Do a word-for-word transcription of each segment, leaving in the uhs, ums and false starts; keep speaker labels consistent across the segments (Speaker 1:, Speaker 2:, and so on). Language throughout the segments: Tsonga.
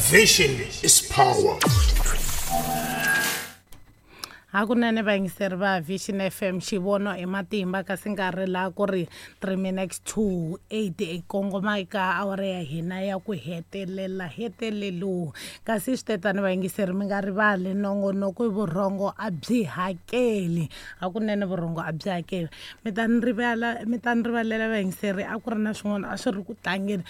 Speaker 1: Vision is power.
Speaker 2: Hakunene vayingiseri va Vision F M, xivono i matimba, kasi nkarhi laha ku ri three minutes to eight i kongoma eka awara ya hina ya ku hetelela hetelelo. Kasi swi tetani vayingiseri, mi nga rivali nongonoko i vurhongo a byi hakeli. Hakunene vurhongo a byi hakeli. Mi ta ni rivala, mi ta ni rivalela vayingiseri, a ku ri na swin'wana a swi ri ku tlangeni.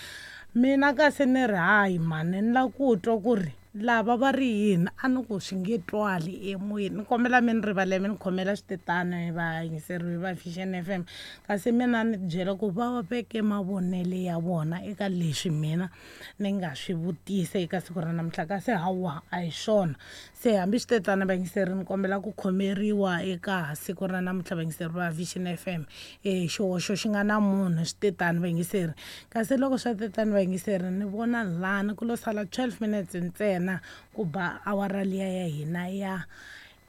Speaker 2: Mina kasi ni ri hayi mhani, ni lava ku twa ku ri lava va ri yini, a ni ku swi nge twali emoyeni. Ni kombela mi ni rivalela, mi ni khomela switetano vayingiseri va Vision F M. Kasi mina ni byela ku va veke mavonelo ya vona eka leswi mina ni nga swi vutisa eka siku ra namuntlha, kasi hawa a hi swona. Se hambi switetano vayingiseri, ni kombela ku khomeriwa eka siku ra namuntlha vayingiseri va Vision F M. E xihoxo xi nga na munhu switetano vayingiseri. Kasi loko swa tetano vayingiseri, ni vona lani ku lo sala twelve minutes ntsena ku ba awara liya ya hina ya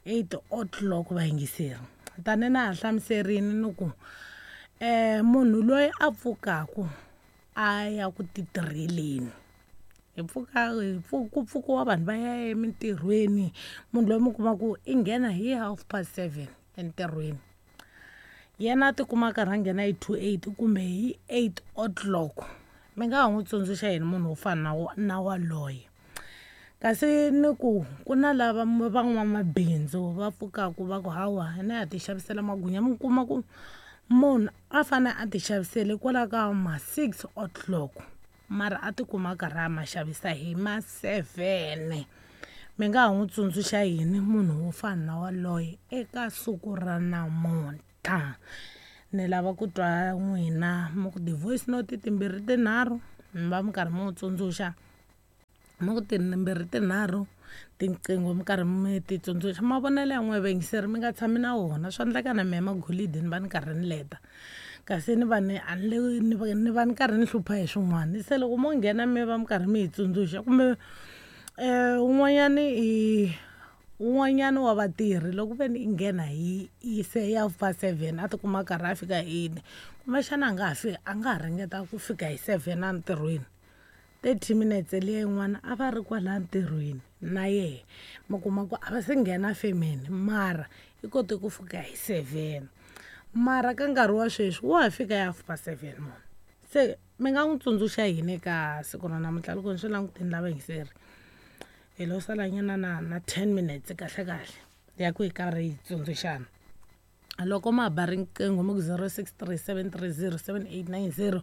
Speaker 2: eight o'clock vayingiseri. Tani na ha hlamuserini ni ku, eh, munhu loyi a pfukaku a ya ku titirheleni, hi pfuka, hi pfu-, ku pfukiwa vanhu va ya emintirhweni, munhu loyi mi kuma ku i nghena hi half past seven entirhweni, yena a tikuma a karhi a nghena hi two eight kumbe hi eight o'clock. Mi nga ha n'wi tsundzuxa yini munhu wo fana na wa, na waloye? Kasi ni ku ku na lava van'wamabindzu va pfukaku va ku hawa hina ha ti xavisela magwinya, mi kuma ku munhu a fane a ti xavisele kwala ka ma six o'clock, mara a tikuma a karhi a ma xavisa hi ma seven. Mi nga ha n'wi tsundzuxa yini munhu wo fana na waloye eka siku ra namuntlha? Ni lava ku twa n'wina mi ku ti-voice note timbirhi tinharhu, mi va mi karhi mi n'wi tsundzuxa. Mi ku timbirhi tinharhu tinqingho mi karhi mi ti tsundzuxa. Mavonelo ya n'wina vayingiseri mi nga tshami na wona, swa endleka na mehe magolidi ni va ni karhi ni leta, kasi ni va ni a ni le, ni va, ni va ni karhi ni hlupha hi swin'wana. Se loko mo nghena mi va mi karhi mi hi tsundzuxa, kumbe, eh, un'wanyani i, un'wanyani wa vatirhi loko ve ni i nghena hi, hi se ya half past seven a tikuma a karhi a fika hi eight, kumbexana a nga ha fi-, a nga ha ringeta ku fika hi seven entirhweni, thirty minutes liya yin'wana a va ri kwala ntirhweni na yehe, mi kuma ku a va se nghena femeni, mara i kote ku fika hi seven. Mara ka nkarhi wa sweswi wa ha fika hi half past seven munhu. Se mi nga n'wi tsundzuxa yini eka siku ra namuntlha? Loko ni swi langutini lava yingiseri, hi lo salanyana na, na ten minutes kahle kahle ya ku hi karhi hi tsundzuxana. Loko ma ba riqingho mi ku zero six three seven three zero seven eight nine zero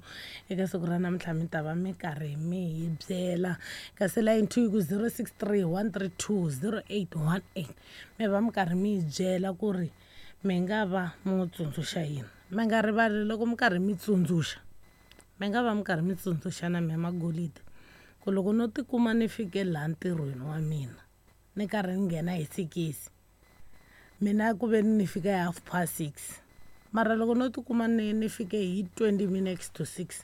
Speaker 2: eka siku ra namuntlha mi ta va mi karhi mi hi byela. Kasi line two yi ku zero six three one three two zero eight one eight mi va mi karhi mi hi byela ku ri mi nga va mi n'wi tsundzuxa yini. Mi nga rivali loko mi karhi mi tsundzuxa, mi nga va mi karhi mi tsundzuxa na mehe magolidi ku loko no tikuma ni fike laha ntirhweni wa mina ni karhi ni nghena hi sikisi, mina ku ve ni fika hi half past six, mara loko no tikuma ni, ni fike hi twenty minutes to six,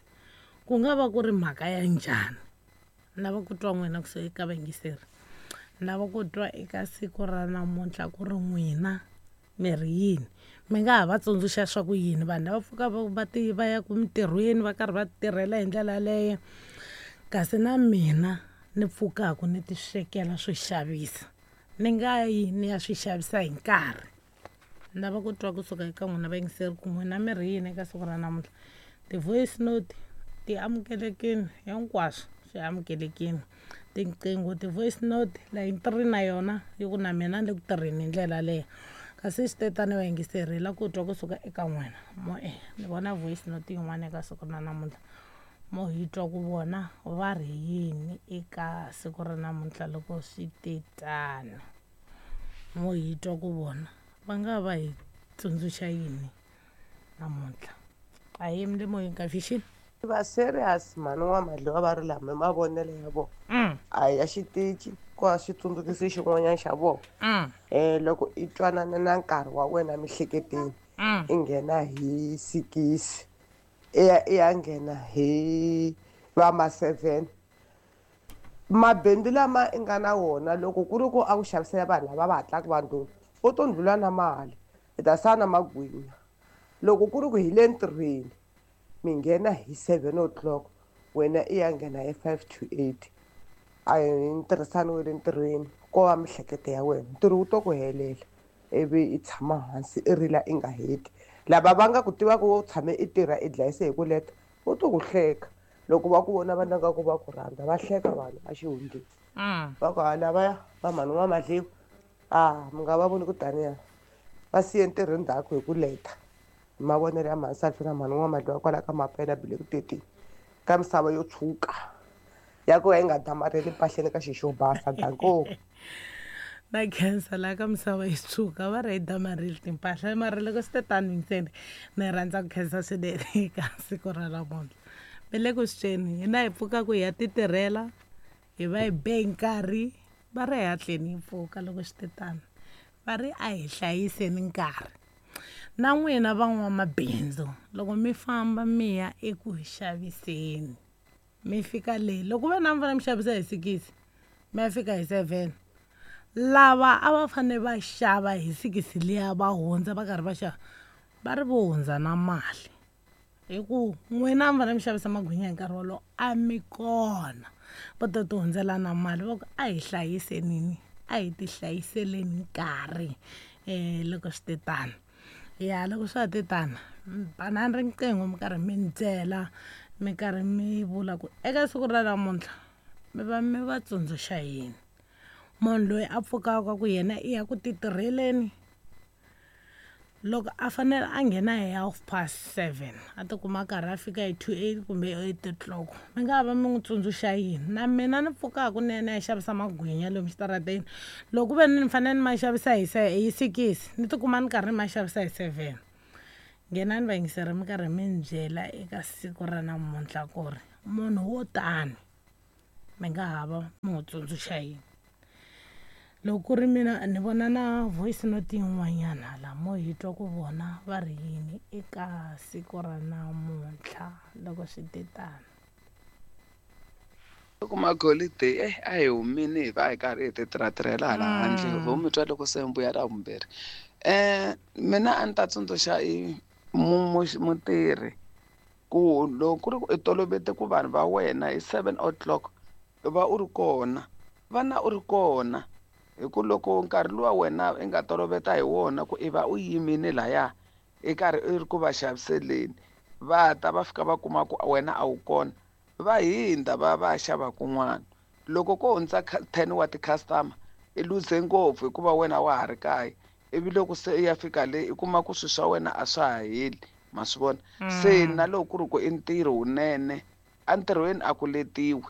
Speaker 2: ku nga va ku ri mhaka ya njhani? Ni lava ku twa n'wina kusuka eka vayingiseri, ni lava ku twa eka siku ra namuntlha ku ri n'wina mi ri yini. Mi nga ha va tsundzuxa swa ku yini vanhu lava pfuka va, va ti, va ya ku mintirhweni va karhi va tirhela hi ndlela yaleyo, kasi na mina ni pfukaku ni ti swekela swo xavisa, ni nga yi ni ya swi xavisa hi nkarhi. Ni lava ku twa kusuka eka n'wina vayingiseri ku n'wina mi ri yini eka siku ra namuntlha. Ti-voice note ti amukelekile, hinkwaswo swi amukelekile. Tinqingho, ti-voice note, line three na yona yi ku na mina ni le ku tirheni hi ndlela yaleyo. Kasi switetano vayingiseri hi lava ku twa kusuka eka n'wina. Mo e, ni vona voice note yin'wana eka siku ra namuntlha, mo hi twa ku vona va ri yini eka siku ra namuntlha loko swi tetano. Mo hi twa ku vona va nga va hi tsundzuxa yini namuntlha. A hi yimi le moyeni ka Vision.
Speaker 3: Va serious mhani wa Madliwa va ri lama mavonelo ya vona.
Speaker 2: Mm.
Speaker 3: A ya xitichi ku a xi tsundzukisi xin'wanyana xa vona.
Speaker 2: Mm.
Speaker 3: Eh, loko i twanana na nkarhi wa wena miehleketweni,
Speaker 2: Mm.
Speaker 3: i nghena hi sikisi, i ya, i ya nghena hi va ma seven. Mabindzu lama i nga na wona loko ku ri ku a ku xavisela vanhu lava va hatlaka va ndlhula, u to ndlhula na mali, i ta sala na magwinya. Loko ku ri ku hi le ntirhweni, mi nghena hi seven o'clock, wena i ya nghena hi five to eight. A hi ntirhisano wa le ntirhweni, ko va miehleketo ya wena. Ntirho wu to ku helela ivi i tshama hansi i rila i nga heti. Lava va nga ku tivaka u tshame i tirha i dlayise hi ku leta, vo to ku hleka. Loko va ku vona va nga ku va ku rhandza, va hleka vanhu a xihundleni. Va ku ha lavaya va mhani wa Madliwa, a mi nga va voni ku taniya va siye ntirho ndzhaku hi ku leta. Hi mavonelo ya mhani Salfi na mhani wa Madliwa kwala ka Mapela Black thirteen ka misava yo tshuka ya ku va yi nga damarheli mpahleni ka xixo basa. Danko.
Speaker 2: Na khensa laha ka misava yi tshuka va ri yi damarheli timpahla, mara loko swi te tani ntsena ni rhandza ku khensa swinene eka siku ra namuntlha. Mi le ku swi tweni, hina hi pfuka ku hi ya ti tirhela, hi va hi be hi nkarhi, va ri hi hatleni hi pfuka loko swi te tano, va ri a hi hlayiseni nkarhi. Na n'wina van'wamabindzu loko mi famba mi ya eku xaviseni, mi fika le loko ve na mi fanele mi xavisa hi sikisi, mi ya fika hi seven, lava a va fanele va xava hi sikisi liya va hundza va karhi va xava, va ri vo hundza na mali. Hi ku n'wina a mi fanele mi xavisa magwinya hi nkarhi wolowo a mi kona, va to ti hundzela na mali. Va ku a hi hlayisenini, a hi ti hlayiseleni nkarhi um loko swi te tano. Ya loko swa ha te tano, banani riqingho mi karhi mi ni byela, mi karhi mi vula ku eka siku ra namuntlha mi va mi va tsundzuxa yini. Munhu loyi a pfukaka ku yena i ya ku ti tirheleni, loko a fanele a nghena hi half past seven a tikuma a karhi a fika hi two eight kumbe eight o'clock, mi nga va mi n'wi tsundzuxa yini? Na mina ni pfukaka ni ya ni ya xavisa magwinya lomu xitarateni, loko ku ve ni fanele ni ma xavisa hi hi sikisi, ni tikuma ni karhi ni ma xavisa hi seven. Nghenani vayingiseri mi karhi mi ni byela eka siku ra namuntlha ku ri munhu wo tani mi nga ha va mi n'wi tsundzuxa yini. Loko ku ri mina ni vona na voice note yin'wanyana laha mo hi twa ku vona va ri yini eka siku ra namuntlha loko swi te tano.
Speaker 4: Loko magholideyi eh a hi humini hi va hi karhi hi ti tirhatirhela hala handle, vo mi twa loko se mbuya ra vumbirhi. Eh mina a ni ta tsundzuxa i mutirhi ku loko ku ri ku i tolovete ku vanhu va wena hi seven o'clock va u ri kona, vana u ri kona. Hi ku loko nkarhi luwa wena i nga toloveta hi wona ku i va u yimile laya i karhi i ri ku va xaviseleni, va ta va fika va kuma ku wena a wu kona, va hindza va va xava kun'wana. Loko ko hundza ten wa ti-customer i luze ngopfu hikuva wena wa ha ri kaya, ivi loko se i ya fika le i kuma ku swilo swa wena a swa ha heli, ma swi vona. Se na loko ku ri ku i ntirho wunene entirhweni a ku letiwi,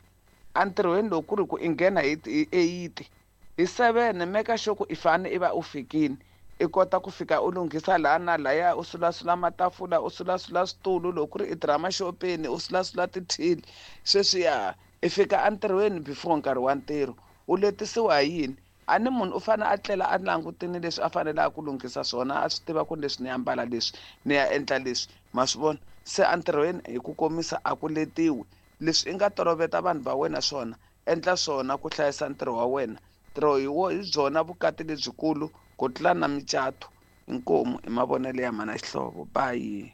Speaker 4: entirhweni loko ku ri ku i nghena hi eight hi seven meka sure ku i fane i va u fikile, i kota ku fika u lunghisa laha na lahaya, u sulasula matafula, u sulasula switulu, loko ku ri i tirha maxopeni u sulasula tithili, sweswiya i fika entirhweni before nkarhi wa ntirho. U letisiwa hi yini? A ni munhu u fanele a tlela a langutile leswi a faneleke ku lunghisa swona, a swi tiva ku leswi ni ambala leswi ni ya endla leswi, ma swi vona. Se entirhweni hi ku komisa a ku letiwi, leswi i nga toloveta vanhu va wena swona, endla swona ku hlayisa ntirho wa wena. Ntirho hi wo hi byona vukati lebyikulu ku tlula na micato. Inkomu i mavonelo ya mana Xihlovo. Bye.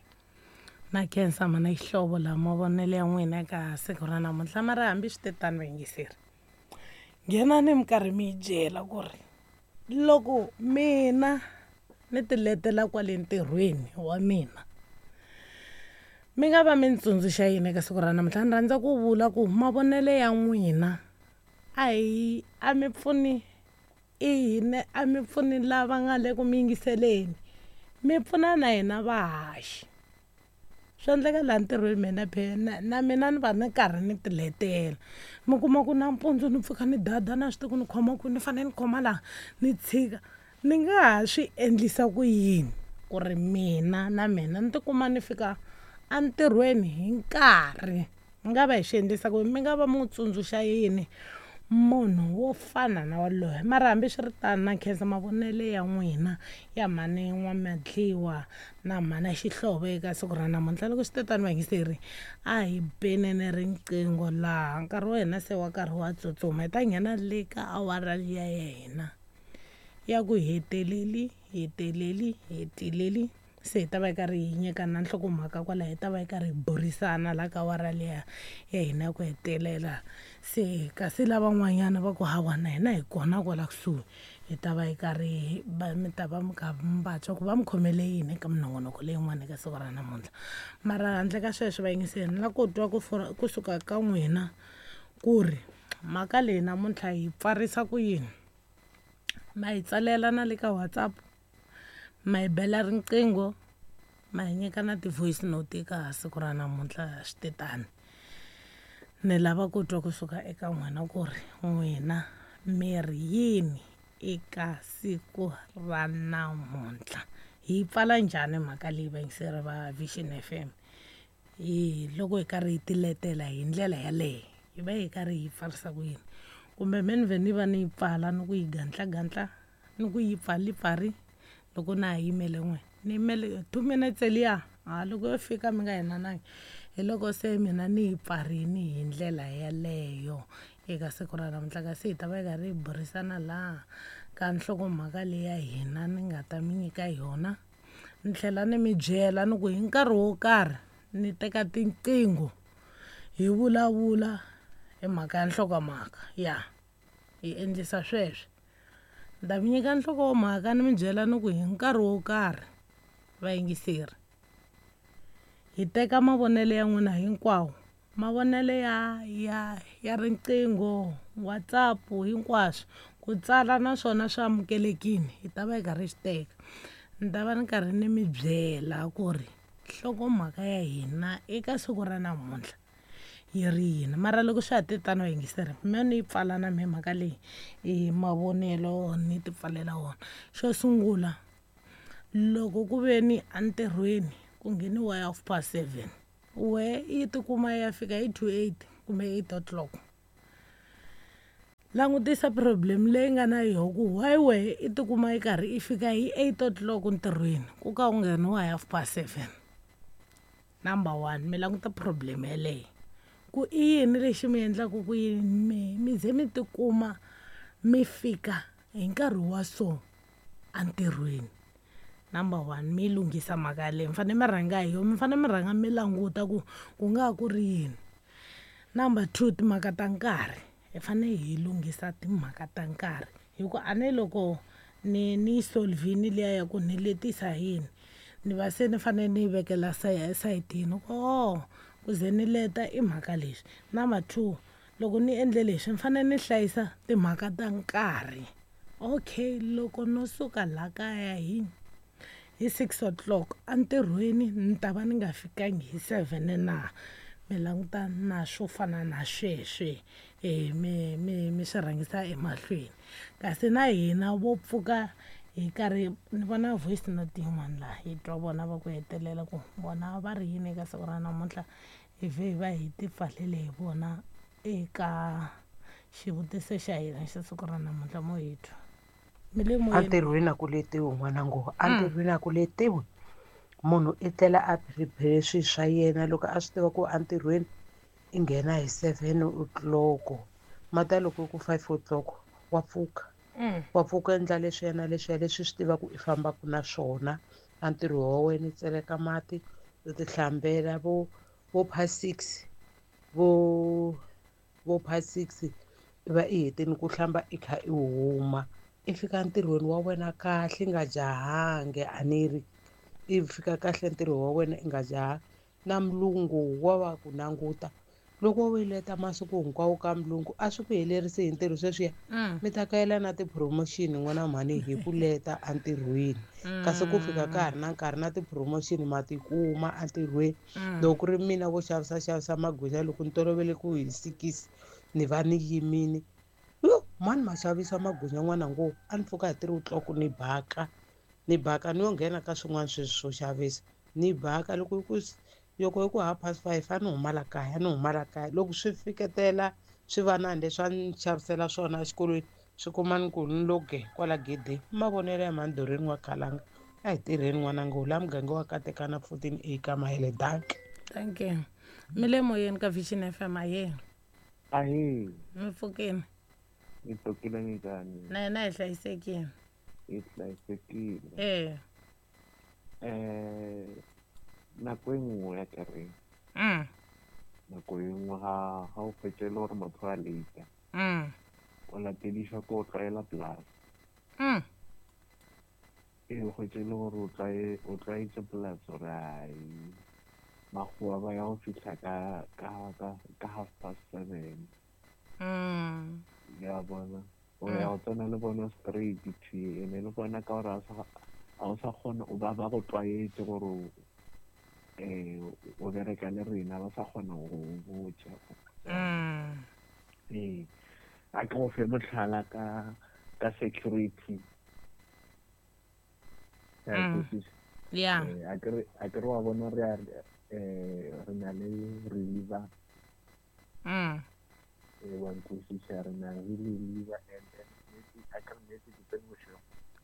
Speaker 2: Na khensa mana Xihlovo la mavonelo ya n'wina eka siku ra namuntlha. Mara hambi swi te tano vayingiseri, nghenani mi karhi mi yi byela ku ri loko mina ni ti letela kwale ntirhweni wa mina, mi nga va mi ni tsundzuxa yini eka siku ra namuntlha? Ni rhandza ku vula ku mavonelo ya n'wina a hi a mi pfuni i a mi pfuni lava nga le ku mi yingiseleni, mi pfuna na hina vahaxi. Swi endleka laha ntirhweni mina phela na mina ni va ni karhi ni ti letela, mi kuma ku nampundzu ni pfuka ni dada na swi tivi ku ni khoma ku ni fanele ni khoma laha ni tshika, ni nga ha swi endlisa ku yini ku ri mina na mina ni tikuma ni fika entirhweni hi nkarhi? Mi nga va hi swi endlisa ku mi nga va mi n'wi tsundzuxa yini munhu wo fana na waloye? Mara hambi swi ri tano na khensa mavonelo ya n'wina ya mhani N'wamadliwa na mhana Xihlovo eka siku ra namuntlha. Loko swi te tano vayingiseri, a hi benene riqingho laha nkarhi wa hina se wa karhi wa tsutsuma, hi ta nghena le ka awara liya ya hina ya ku heteleli heteleli heteleli. Se hi ta va hi karhi hi nyikana nhlokomhaka kwala, hi ta va hi karhi hi burisana la ka awara liya ya hina ya ku hetelela. Se kasi lavan'wanyana va ku hawa na hina hi kona kwala kusuhi, hi ta va hi karhi va mi ta va mi kha mi va twa ku va mi khomele yini eka minongonoko leyin'wana eka siku ra namuntlha. Mara handle ka sweswo vayingiseri, ni lava ku twa ku kusuka ka n'wina ku ri mhaka leyi namuntlha hi pfarisa ku yini. Ma hi tsalela na le ka WhatsApp, ma hi bela riqingho, ma hi nyika na ti-voice note eka siku ra namuntlha. Swi te tani, ni lava ku twa kusuka eka n'wina ku ri n'wina mi ri yini eka siku ra namuntlha. Hi pfala njhani mhaka leyi vayingiseri va Vision F M? Hi loko hi karhi hi tiletela hi ndlela yaleyo, hi va hi karhi hi pfarisa ku yini? Kumbe me ni vhe ni va ni yi pfala ni ku yi gantla-gantla, ni ku yi pfali pfari loko na ha yimele n'we, ni yimele two minutes liya, ha loko yo fika mi nga hinanangi. Hi loko se mina ni yi pfarini hi ndlela yaleyo eka siku ra namuntlha. Kasi hi ta va hi karhi hi burisana laha ka nhlokomhaka leyi ya hina ni nga ta mi nyika yona. Ni tlhela ni mi byela ni ku hi nkarhi wo karhi ni teka tinqingho hi vulavula hi mhaka ya nhlokomhaka ya hi endlisa sweswo. Ni ta mi nyika nhlokomhaka ni mi byela ni ku hi nkarhi wo karhi vayingiseri hi teka mavonelo ya n'wina hinkwawo, mavonelo ya ya ya riqingho, WhatsApp, hinkwaswo ku tsala naswona swi amukelekile, hi ta va hi karhi hi swi teka. Ni ta va ni karhi ni mi byela ku ri nhlokomhaka ya hina eka siku ra namuntlha yi ri yini. Mara loko swa ha te tano vayingiseri, me ni yi pfala na mehe mhaka leyi hi mavonelo ni ti pfalela wona. Xo sungula, loko ku ve ni entirhweni ku ngheniwa hi half past seven, we yi tikuma yi ya fika hi two eight kumbe eight o'clock. Langutisa problem leyi nga na yoho ku why wehe i tikuma yi karhi i fika hi eight o'clock ntirhweni ku ka ku ngheniwa hi half past seven. Number one, mi languta problem yeleyo ku i yini lexi mi endlaka ku yini mi mi ze mi tikuma mi fika hi nkarhi wa so entirhweni. Number one, mi lunghisa mhaka yaleyo, mi fanele mi rhanga hi yona, mi fanele mi rhanga mi languta ku ku nga ha ku ri yini. Number two, timhaka ta nkarhi, hi fanele hi lunghisa timhaka ta nkarhi, hi ku a ni loko ni ni yi solve-ini liya ya ku ni letisa hi yini, ni va se ni fanele ni yi vekela sayitini ku oh ku ze ni leta i mhaka leswi. Number two, loko ni endle leswi ni fanele ni hlayisa timhaka ta nkarhi. Okay, loko no suka la kaya hi hi six o'clock entirhweni ni ta va ni nga fikangi hi seven na. Mi languta na swo fana na sweswe, eh mi mi mi swi rhangisa emahlweni. Kasi na hina vo pfuka hi karhi ni vona voice note yin'wana laha hi twa vona va ku hetelela ku vona va ri yini eka siku ra namuntlha, hi vhe hi va hi ti pfalele hi vona eka xivutiso xa hina xa siku ra namuntlha. Mo hi twa mi le moyeni.
Speaker 3: Entirhweni a ku letiwi n'wana ngo, entirhweni a ku letiwi. Munhu i tlela a prepare swilo swa yena loko a swi tiva ku entirhweni i nghena hi seven o'clock, mata loko ku five o'clock wa pfuka. Wa pfuka endla leswiya na leswiya leswi swi tivaka i fambaka na swona. A ntirho wa wena i tseleka mati, u ti hlambela vo vo past six, vo vo past six i va i hetile ku hlamba i kha i huma. I fika ntirhweni wa wena kahle i nga jahangi, a ni ri i fika kahle ntirho wa wena i nga jahangi. Na mulungu wa va ku languta loko wo leta masiku hinkwawo ka mulungu a swi ku helerisi hi ntirho sweswiya, mi ta kayela na ti-promotion n'wana mhani hi ku leta entirhweni. Kasi ku fika ka ha ri na nkarhi na ti-promotion ma ti kuma entirhweni. Loko ku ri mina vo xavisa xavisa magwinya loko ni tolovele ku hi six ni va ni yimile, yo mani ma xavisa magwinya n'wana ngo a ni pfuka hi three o'clock ni baka ni baka ni yo nghena ka swin'wana sweswi swo xavisa ni baka. Loko ku loko hi ku half past five a ni huma la kaya, ni huma la kaya. Loko swi fiketela swi va na leswi a ni xavisela swona exikolweni swi kuma ni ku ni lo ge kwala gedeni. Mavonelo ya mhani wa Khalanga, a hi tirheni n'wana ngo la muganga wa Katekana fourteen A ka Mahele. Dankie.
Speaker 2: Thank you. Mi le moyeni ka Vision F M. Ahee.
Speaker 5: Ahee.
Speaker 2: Mi pfukile?
Speaker 5: Mi pfukile minjhani?
Speaker 2: Na hina hi hlayisekile.
Speaker 5: Hi hlayisekile.
Speaker 2: Eh.
Speaker 5: Eh nako e nngwe ya kereng.
Speaker 2: Mm.
Speaker 5: Nako e nngwe ha ha o fetse le gore motho a late.
Speaker 2: Mm.
Speaker 5: O latediswa ke o tlwaela polase.
Speaker 2: Mm.
Speaker 5: E o hwetše le gore o tlwae o tlwaetse polase gore ai makgowa ba ya go fihla ka ka ka ka half past seven.
Speaker 2: Mm.
Speaker 5: Ya bona. O ya go tsena le bona straight thwi ene le bona ka gore a o sa kgona o ba ba go tlwaetse gore eh o bereka le rena ba sa kgona go botša.
Speaker 2: Mm.
Speaker 5: Ee. A ke go fe mohlala ka ka security.
Speaker 2: Mm. Yeah.
Speaker 5: A ke re a ke re wa bona re eh re na le reliever.
Speaker 2: Mm.
Speaker 5: Eh wa nkwisisa re na le reliever and then a ke re nnete ke tsene bošego.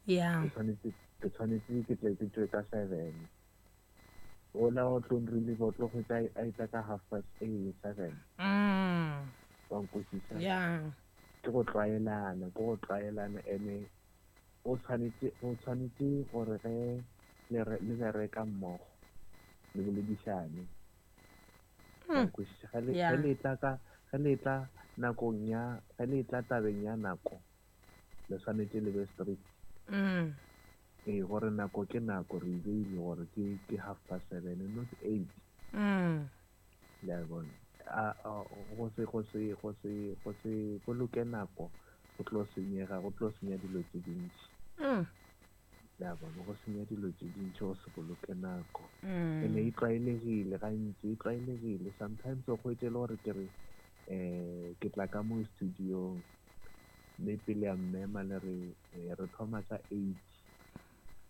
Speaker 2: Yeah.
Speaker 5: Ke tshwanetse ke tshwanetse ke tle ke tswe ka seven. Ola o tlo reliever o tlo go tla a itla ka half past eight seven.
Speaker 2: Mm.
Speaker 5: Wa nkwisisa.
Speaker 2: Yeah.
Speaker 5: Ke go tlwaelana, ke go tlwaelana ene o tshwanetse o tshwanetse gore ge le le bereka mmogo le boledišane.
Speaker 2: Mm.
Speaker 5: Ge le ge le tla ka ge le tla nakong ya ge le tla tabeng ya nako le tshwanetse le be strict.
Speaker 2: Mm.
Speaker 5: Ee gore nako ke nako re beile gore ke ke half past seven not eight.
Speaker 2: Mm.
Speaker 5: Le a bona. A go se go se go se go se boloke nako go tlo senyega go tlo senya dilo tse dintši.
Speaker 2: Mm.
Speaker 5: Le a bona go senya dilo tse dintši go se boloke nako.
Speaker 2: Mm.
Speaker 5: Ene e tlwaelegile gantši e tlwaelegile sometimes o hwetše le gore ke re eh ke tla ka mo studio mme pele ya mmema le re re thoma ka eight.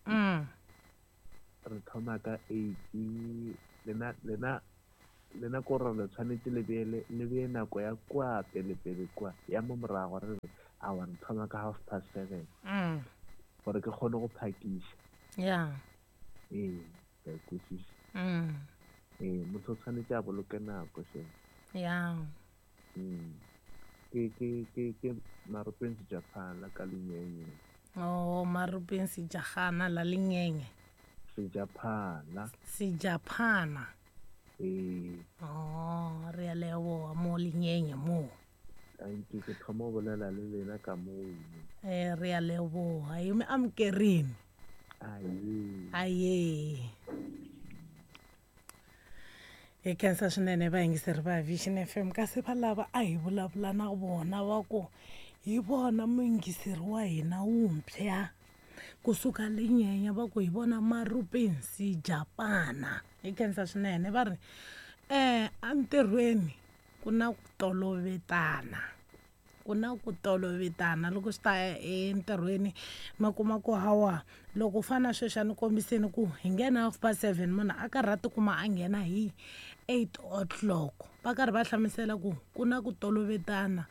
Speaker 2: Mm.
Speaker 5: Re thoma ka eight lena lena lena ko re le tshwanetse le bee le bee nako ya kwa pele pele kwa ya mo morago re re awa re thoma ka half past seven.
Speaker 2: Mm.
Speaker 5: Gore ke kgone go phakiša.
Speaker 2: Yeah.
Speaker 5: Ee, ke a kwešiša.
Speaker 2: Mm.
Speaker 5: Ee, motho o tshwanetse a boloke nako she.
Speaker 2: Yeah.
Speaker 5: Mm. Ke ke ke ke Maropeng Sejapana ka Lenyenye.
Speaker 2: Oh, Maropeng Sejagana la Lenyenye.
Speaker 5: Sejapana.
Speaker 2: Sejapana.
Speaker 5: Ee.
Speaker 2: Oh, re a leboga mo Lenyenye mo.
Speaker 5: Thank you, ke thoma go bolela le lena ka moo.
Speaker 2: Eh re a leboga e me amokerini.
Speaker 5: Aye.
Speaker 2: Aye. Hi khensa swinene vayingiseri va Vision F M kasi va lava a hi vulavula na vona va ku hi vona muyingiseri wa hina wuntshwa kusuka Lenyenye va ku hi vona Maropeng Sejapana. Hi khensa swinene va ri eh entirhweni ku na ku tolovetana ku na ku tolovetana loko swi ta entirhweni ma kuma ku hawa loko u fana sweswi a ni kombiseni ku hi nghena half past seven munhu a karhi a tikuma a nghena hi eight o'clock va karhi va hlamusela ku ku na ku tolovetana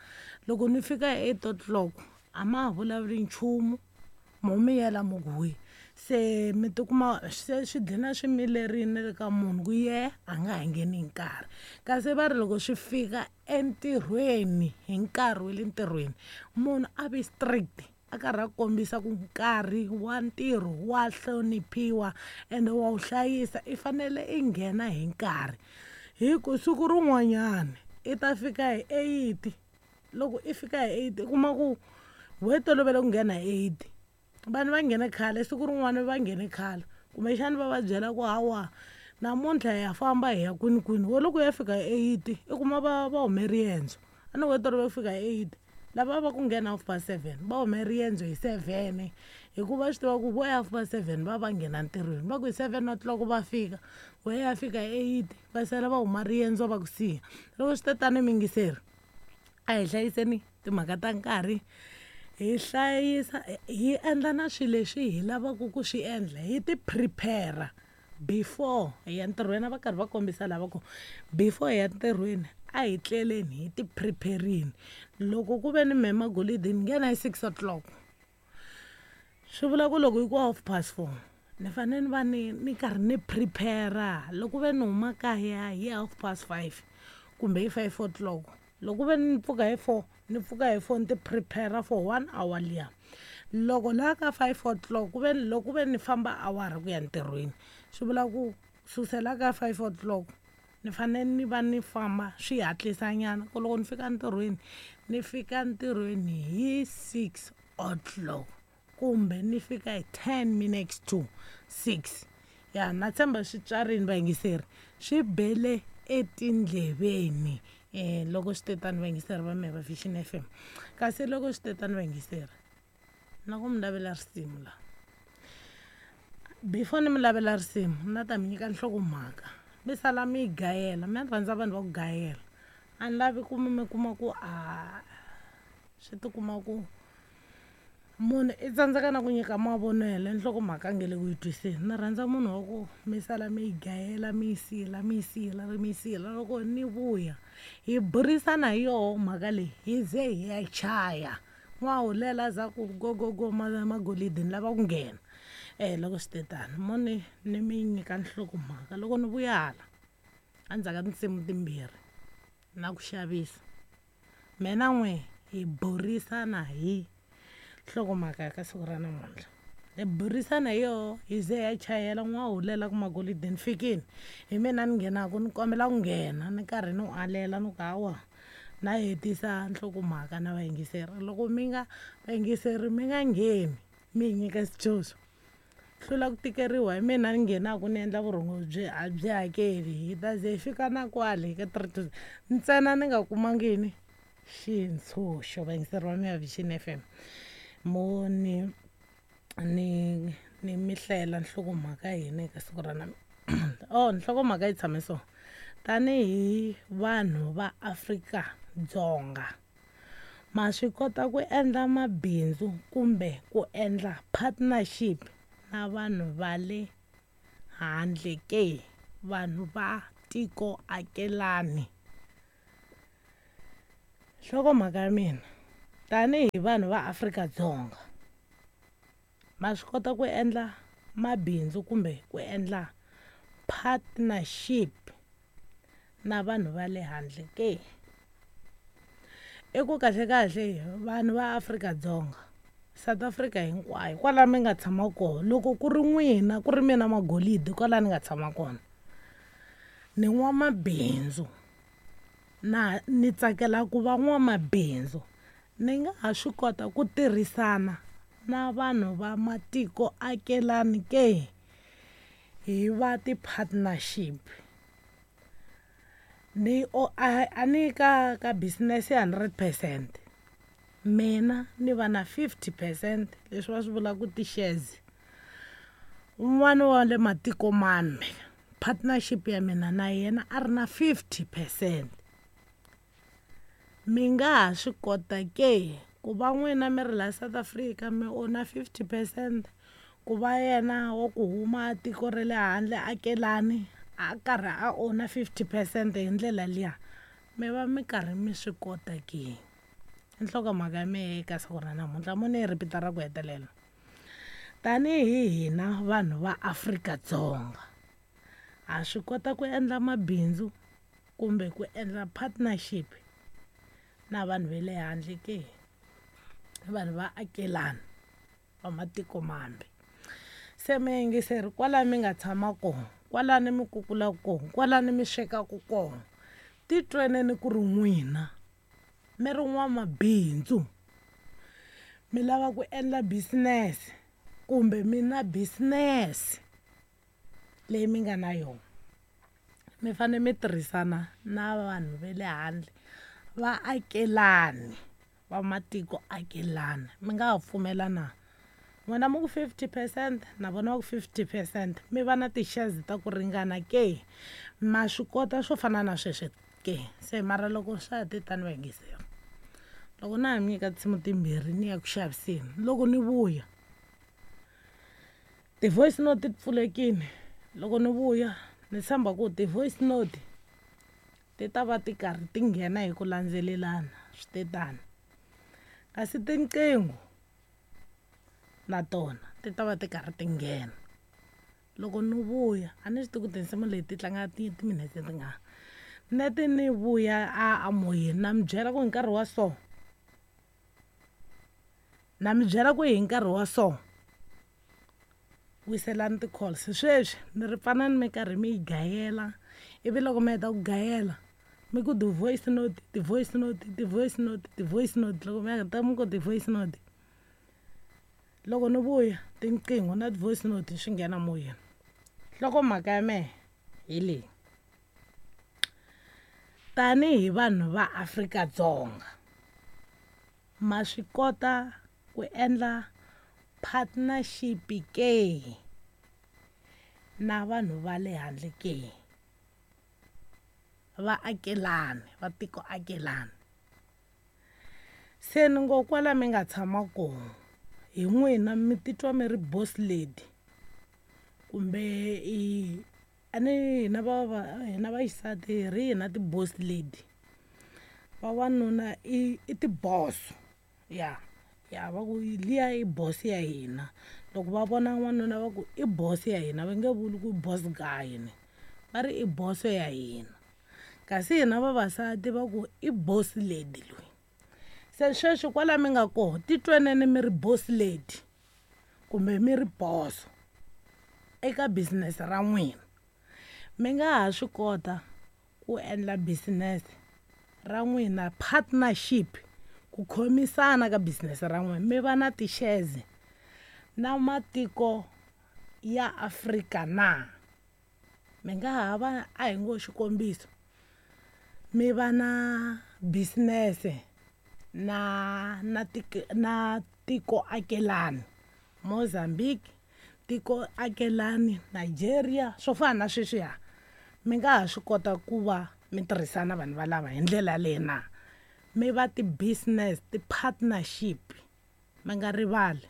Speaker 2: loko ni fika hi eight o'clock a ma ha vulavuli nchumu mo miyela mo ku hwi se mi tikuma se swi dlina swi milerini le ka munhu ku ye a nga ha ngheni hi nkarhi kasi va ri loko swi fika entirhweni hi nkarhi wa le ntirhweni munhu a vi strict a karhi a kombisa ku nkarhi wa ntirho wa hloniphiwa ende wa wu hlayisa i fanele i nghena hi nkarhi hi ku siku rin'wanyana i ta fika hi eight loko i fika hi eight i kuma ku we tolovele ku nghena hi eight vanhu va nghene khale siku rin'wana va nghene khale kumbexani va va byela ku hawa namuntlha hi ya famba hi ya kwini kwini wo loko ya fika hi eight i kuma va va hume riendzo a ni we tolovele ku fika hi eight lava va ku nghena half past seven va hume riendzo hi seven hikuva swi tiva ku vo ya half past seven va va nghena ntirhweni va ku hi seven o'clock va fika we ya fika hi eight va sala va huma riendzo va ku siya loko swi ta tani miyingiseri a hi hlayiseni timhaka ta nkarhi hi hlayisa hi endla na swilo leswi hi lavaka ku swi endla hi ti prepare before hi ya ntirhweni a va karhi va kombisa lava ku before hi ya ntirhweni a hi tleleni hi ti preparini loko ku ve ni mema golidi ni nghena hi six o'clock swi vula ku loko hi ku half past four ni fanele ni va ni ni karhi ni prepare loko ve ni huma kaya hi half past five kumbe hi five o'clock loko ve ni pfuka hi four ni pfuka hi four ni ti prepare for one hour liya Loko laha ka five o'clock ku ve loko ku ve ni famba awara ku ya ntirhweni, swi vula ku susela ka five o'clock ni fanele ni va ni famba swi hatlisanyana ku loko ni fika ntirhweni ni fika ntirhweni hi six o'clock kumbe ni fika hi ten minutes to six. Ya na tshemba swi tswarini vayingiseri, swi bele etindleveni um loko swi te tani vayingiseri va mehe va Vision F M. Kasi loko swi te tani vayingiseri, na ku mi lavela risimu la. Before ni mi lavela risimu na ta mi nyika nhlokomhaka, mi sala mi yi gayela. Mina ni rhandza vanhu va ku gayela, a ni lavi ku mi mi kuma ku a swi tikuma ku munhu i tsandzeka na ku nyika mavonelo nhlokomhaka a nge le ku yi twiseni. Ni rhandza munhu wa ku mi sala mi yi gayela, mi yi sila, mi yi sila, mi yi sila. Loko ni vuya hi burisana hi yoho mhaka leyi hi ze hi ya chaya. N'wahulela za ku go go go magolidi ni lava ku nghena. Eh loko swi te tano mo ni ni mi nyika nhlokomhaka loko ni vuya hala endzhaku ka tinsimu timbirhi na ku xavisa, mina n'we hi burisana hi nhlokomhaka ka siku ra namuntlha. Hi burisana hi yoho hi ze hi ya chayela. N'wahulela ku magolidi ni fikini, hi mina ni nghenaku ni kombela ku nghena, ni karhi ni alela ni ku hawa na hetisa nhlokomhaka na vayingiseri. Loko mi nga vayingiseri mi nga ngheni mi hi nyika xitshunxo, hlula ku tikeriwa hi mina ni nghenaku ni endla vurhongo byi a byi hakeli. Hi ta ze hi fika na kwale ka three two ntsena ni nga kumangi yini xintshunxo. Vayingiseri va mina Vision F M, mo ni ni ni mi hlayela nhlokomhaka ya hina eka siku ra namuntlha. Oh, nhlokomhaka yi tshame so: tanihi vanhu va Afrika-Dzonga, ma swi kota ku endla mabindzu kumbe ku endla partnership na vanhu va le handle ke, vanhu va tiko akelani? Nhlokomhaka ya mina, tanihi vanhu va Afrika-Dzonga, ma swi kota ku endla mabindzu kumbe ku endla partnership na vanhu va le handle ke? I ku kahle kahle vanhu va Afrika-Dzonga, South Africa hinkwayo kwala mi nga tshama kona, loko ku ri n'wina ku ri mina magolidi kwala ni nga tshama kona, ni n'wamabindzu na ni tsakela ku va n'wamabindzu, ni nga ha swi kota ku tirhisana na vanhu va matiko akelani ke, hi va ti-partnership. Ni o a a ni ka ka business ya hundred percent, mina ni va na fifty percent leswi va swi vulaka ti-shares. Un'wana wa le matiko mambe partnership ya mina na yena a ri na fifty percent. Mi nga ha swi kota ke ku va n'wina mi ri la South Africa mi own fifty percent, ku va yena wa ku huma tiko ra le handle akelani a karhi a own fifty percent hi ndlela liya, mi va mi karhi mi swi kota ke? Nhlokomhaka ya mehe eka siku ra namuntlha, mo ni yi repeat-a ra ku hetelela. Tanihi hina vanhu va Afrika-Dzonga, ha swi kota ku endla mabindzu kumbe ku endla partnership na vanhu va le handle ke, vanhu va akelani va matiko mambe? Se mi yingiseri kwala mi nga tshama kona, kwalani mi kukulaka kona, kwalani mi swekaka kona, titweneni ku ri n'wina mi ri n'wamabindzu, mi lava ku endla business kumbe mi na business leyi mi nga na yona, mi fanele mi tirhisana na vanhu va le handle va akelani va matiko akelani. Mi nga ha pfumela na? N'wina mi ku fifty percent na vona va ku fifty percent, mi va na ti-shares ta ku ringana ke? Ma swi kota swo fana na sweswo ke? Se mara loko swa ha te tani vayingiseri, loko na ha mi nyika tinsimu timbirhi ni ya ku xaviseni, loko ni vuya ti-voice note ti pfulekile. Loko ni vuya ni tshemba ku ti-voice note ti ta va ti karhi ti nghena hi ku landzelelana, swi te tano. Kasi tinqingho na tona ti ta va ti karhi ti nghena. Loko ni vuya a ni swi tivi ku tinsimu leti ti tlanga timinetse tingani, neti ni vuya a a moyeni na mi byela ku hi nkarhi wa so Na mi byela ku hi nkarhi wa so wiselani ti-calls. Sweswi ni ri pfanani mi karhi mi yi gayela, ivi loko mi heta ku gayela mi ku ti-voice note, ti-voice note, ti-voice note, ti-voice note. Loko mi heta mi ku ti-voice note, loko ni vuya tinqingho na ti-voice note swi nghena moyeni. Nhlokomhaka ya mehe hi leyi, tanihi vanhu va Afrika-Dzonga ma swi kota ku endla partnership ke na vanhu va le handle ke, vaakelani va tiko akelani. Se ni ngo kwala mi nga tshama kona hi n'wina mi titwa mi ri boss lady kumbe i a ni hina va hina vaxisati hi ri hina ti-boss lady, vavanuna i i ti-boss. Ya ya va ku liya i boss ya hina. Loko va vona n'wanuna va ku i boss ya hina, va nge vuli ku boss guy ni, va ri i boss ya hina. Kasi hina vavasati va ku i boss lady loyi. Se sweswi kwala mi nga kona titweneni mi ri boss lady kumbe mi ri boss eka business ra n'wina. Mi nga ha swi kota ku endla business ra n'wina partnership, ku khomisana ka business ra n'wina, mi va na ti-shares na matiko ya Afrika na. Mi nga ha va, a hi ngo xikombiso, mi va na business na na tiko na tiko akelani Mozambique, tiko akelani Nigeria, swo fana na sweswiya. Mi nga ha swi kota ku va mi tirhisana vanhu valava hi ndlela yaleyo na, mi va ti-business ti-partnership. Mi nga rivali,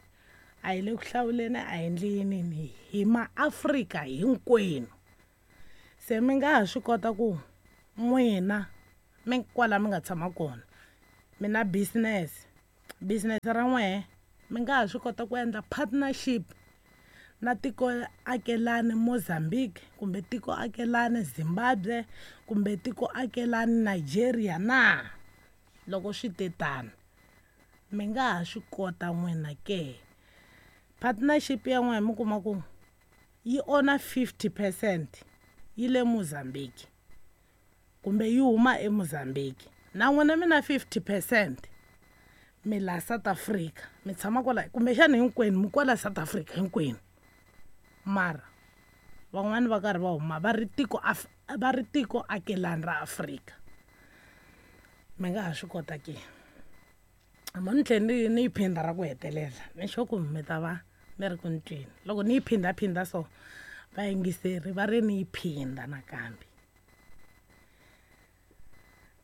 Speaker 2: a hi le ku hlawuleni, a hi endli yinini, hi maAfrika hinkwenu. Se mi nga ha swi kota ku n'wina mi kwala mi nga tshama kona mi na business, business ra n'wehe mi nga ha swi kota ku endla partnership na tiko akelani Mozambique kumbe tiko akelani Zimbabwe kumbe tiko akelani Nigeria na. Loko swi te tano mi nga ha swi kota n'wina ke. Partnership ya n'wina mi kuma ku yi ona fifty percent yi le Mozambique kumbe yi huma eMozambique, na n'wina mi na fifty percent mi la South Africa, mi tshama kwala kumbexana hinkwenu mi kwala South Africa hinkwenu, mara van'wani va karhi va huma va ri tiko va ri tiko akelani ra Afrika. Mi nga ha swi kota ke. Mo ni tlhela ni ni yi phinda ra ku hetelela, ni sure ku mi ta va mi ri ku ni tweni. Loko ni yi phindaphinda so vayingiseri va ri ni yi phinda nakambe.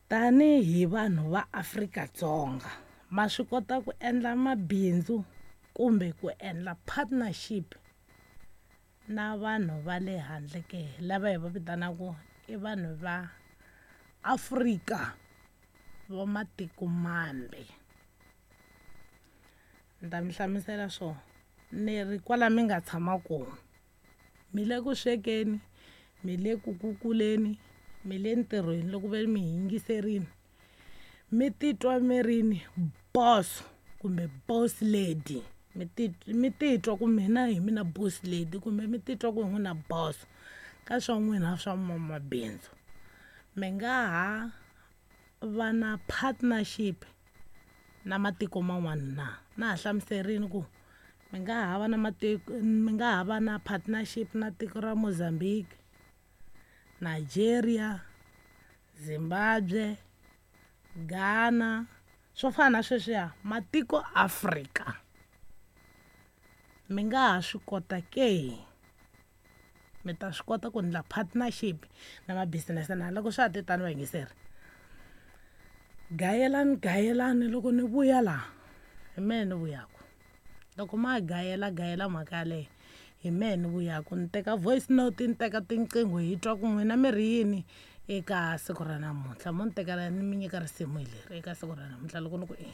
Speaker 2: Tanihi vanhu va Afrika-Dzonga ma swi kota ku endla mabindzu kumbe ku endla partnership na vanhu va le handle ke, lava hi va vitanaka i vanhu va Afrika va matiko mambe. Ni ta mi hlamusela swo, ni ri kwala mi nga tshama kona mi le ku swekeni, mi le ku kukuleni, mi le ntirhweni, loko ve mi yingiserini mi titwa mi ri ni boss kumbe boss lady, mi mi titwa ku mina hi mina boss lady kumbe mi titwa ku hi n'wina boss ka swa n'wina swa mabindzu. Mi nga ha va na partnership na matiko man'wana na. Na ha hlamuserini ku mi nga ha va na matiko, mi nga ha va na partnership na tiko ra Mozambique, Nigeria, Zimbabwe, Ghana, swo fana na sweswiya matiko Afrika. Mi nga ha swi kota ke, mi ta swi kota ku endla partnership na ma-business na. Loko swa ha te tano vayingiseri, gayelani gayelani loko ni vuya laha hi mehe ni vuyaku. Loko ma gayela gayela mhaka yaleyo hi mehe ni vuyaku, ni teka voice note, ni teka tinqingho hi twa ku n'wina mi ri yini eka siku ra namuntlha. Mo ni tekela ni mi nyika risimu hi leri eka siku ra namuntlha loko ni ku e.